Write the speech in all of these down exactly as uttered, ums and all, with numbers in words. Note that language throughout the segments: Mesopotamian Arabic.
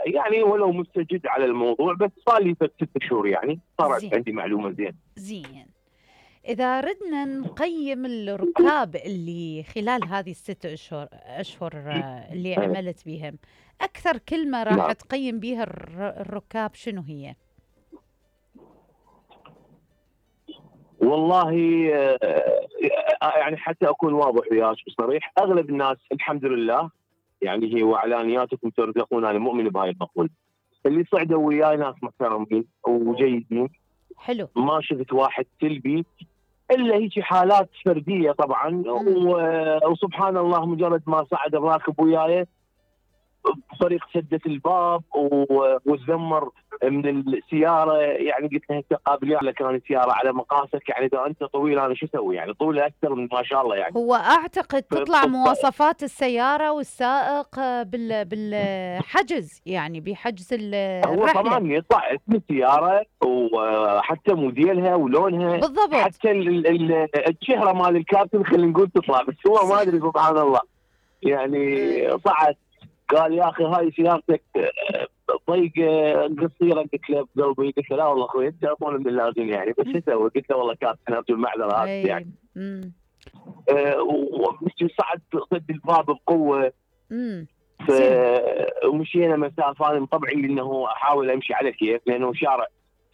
يعني ولو مستجد على الموضوع، بس صار لي ست شهور يعني صارت زين عندي معلومه زين. زين. إذا ردنا نقيم الركاب اللي خلال هذه الست أشهر أشهر آه، اللي أي. عملت بيهم، أكثر كلمة راح نعم. تقيم بيها الر- الركاب شنو هي؟ والله آه، آه، يعني حتى اكون واضح وياك وصريح، اغلب الناس الحمد لله يعني هي واعلانياتكم ترزقون، انا مؤمن بهاي المقوله. اللي صعدوا وياي ناس محترمين وجيدين، حلو. ما شفت واحد سلبي الا هيك حالات فرديه طبعا. مم. و- وسبحان الله مجرد ما صعد الراكب وياي بطريق سدة الباب و- وتذمر من السياره، يعني قلت له انت قابل ولا كان سياره على مقاسك، يعني اذا انت طويل انا شو اسوي؟ يعني طولي اكثر من ما شاء الله يعني. هو أعتقد ف- تطلع ف- مواصفات السيارة والسائق آه، بال بالحجز، يعني بحجز ال- هو الرحلة. طبعا يطلع اسم السياره وحتى موديلها ولونها، بالضبط. حتى ال- ال- الشهره مال الكابتن خلينا نقول تطلع، بس هو ما ادري سبحان الله يعني أي. صعد قال يا اخي هاي سيارتك آه، ضيقه قصيره. قلت له بقلبي، قلت له لا والله اخوي انت اطول من اللازم يعني، بس شو اسوي؟ قلت له والله كابتن ارجو المعذره هذا أي. يعني. مم. آه، ومشي صعد سد الباب بقوه. مم. ف زين. ومشينا مسافه، انا طبعي انه احاول امشي على كيف، لانه شارع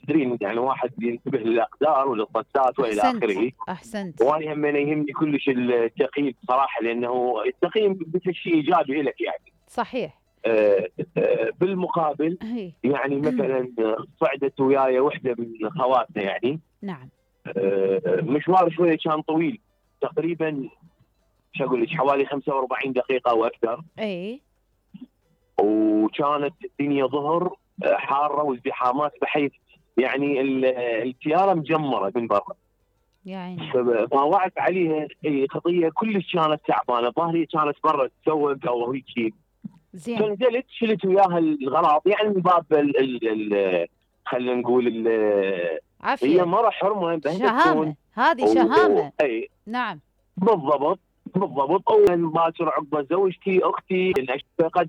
تدرين يعني واحد ينتبه للاقدار وللطسات والى أحسنت اخره. أحسنت. وانا هم يهمني كلش التقييم صراحه، لانه التقييم مثل شيء ايجابي لك يعني. صحيح. آه، آه، بالمقابل هي. يعني مثلا صعدت وياي وحده من خواتنا يعني. نعم. آه، مشوار شويه كان طويل، تقريبا شو اقول لك حوالي خمسة وأربعين دقيقه او اكثر. اي. وكانت الدنيا ظهر آه، حاره وازدحامات، بحيث يعني ال- السياره مجمره من برا. يعني فطاوعت عليها هي خطيه كلش كانت تعبانه، ظهري كانت برا تسوق او هيك. زين. فنزلت شلت وياها الغراض يعني من باب ال ال ال خلينا نقول ال هي عافية. مره حرمه بهي شهامة، تكون. هذه و- شهامة. اي نعم. بالضبط بالضبط. اول باكر عقبه زوجتي اختي فقد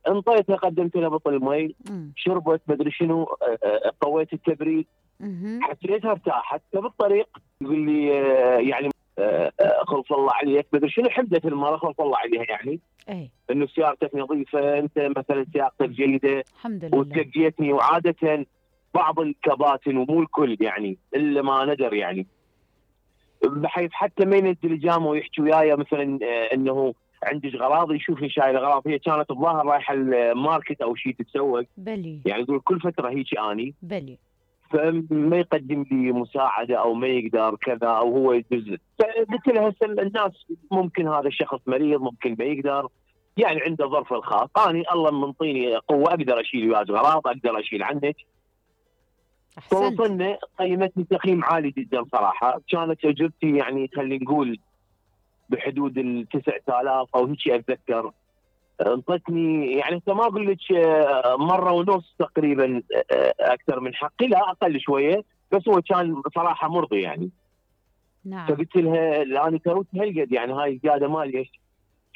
انطيتها، قدمت لها بطل مي، مم. شربت مدري شنو، آه، آه، قويت التبريد، مهم. حسيتها ارتاحت. فبالطريق يقول لي آه، يعني آه، آه، خلص الله عليك مدري شنو، حمدت المره خلص الله عليها يعني اي. انه سيارتك نظيفه، انت مثلا سيارتك جيده. الحمد لله. وتلقيتني، وعاده بعض الكباتن ومو الكل يعني الا ما ندر يعني، بحيث حتى ما ينزل جامه ويحكي وياي مثلا آه، انه عندك غراض، يشوفني شايل اغراض. هي كانت الظاهر رايحه الماركت او شيء تتسوق، بلي يعني يقول كل فتره هيك اني، بلي. فما يقدم لي مساعده او ما يقدر كذا او هو يدز. فقلت له هسه الناس ممكن هذا الشخص مريض، ممكن ما يقدر، يعني عنده ظرف الخاص. اني الله منطيني قوه اقدر اشيل وياك غراض، اقدر اشيل عنك. احسنت. توصلنا قيمتني تقييم عالي جدا صراحه. كانت اجرتي يعني خلينا نقول بحدود ال تسعة آلاف او هيك اتذكر. انطتني يعني انت ما اقول لك آه، مره ونص تقريبا آه، اكثر من حقي، لا اقل شويه، بس هو كان بصراحه مرضي يعني. نعم. فقلت لها لا انا كروت هالقد يعني هاي الزياده مالي.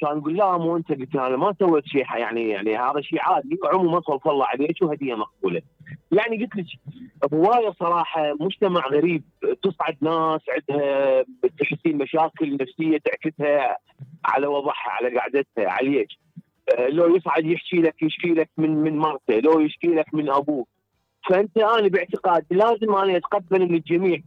كان يقول لا مو انت. قلت انا ما سويت شيء يعني، يعني هذا شيء عادي عموما، صلى الله عليك وهديه مقبوله. يعني قلت لك هوايه صراحه مجتمع غريب، تصعد ناس عندها تحسين مشاكل نفسيه تعكسها على وضعها على قعدتها عليك. آه، لو يصعد يحكي لك يشكي لك من من مرته، لو يشكي لك من ابوه. فانت انا باعتقادي لازم انا اتقبل من الجميع،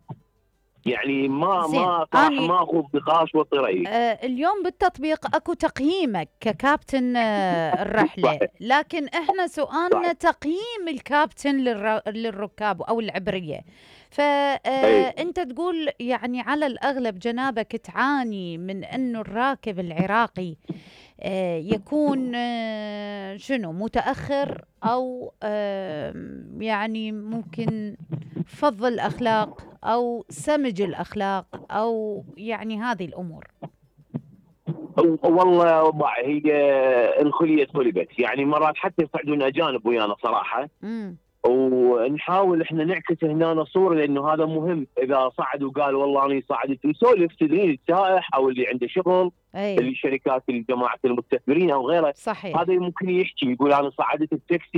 يعني ما زين. ما صراحه اني ما اخذ نقاش وطري. آه اليوم بالتطبيق اكو تقييمك ككابتن آه الرحلة، صحيح لكن احنا سؤالنا صحيح. تقييم الكابتن للر... للركاب او العبرية. اي فانت تقول يعني على الاغلب جنابك تعاني من انه الراكب العراقي آه، يكون آه، شنو متأخر أو آه، يعني ممكن فض الأخلاق أو سمج الأخلاق أو يعني هذه الأمور. والله وضع هي الخليه خلبت يعني، مرات حتى يصعدون اجانب ويانا صراحه، امم. ونحاول احنا نعكس هنا صوره، لانه هذا مهم. اذا صعد وقال والله انا صعدت يسولف تدرين السائح او اللي عنده شغل، أي. اللي شركات الجماعه المستثمرين او غيره، صحيح. هذا ممكن يحكي يقول انا صعدت التاكسي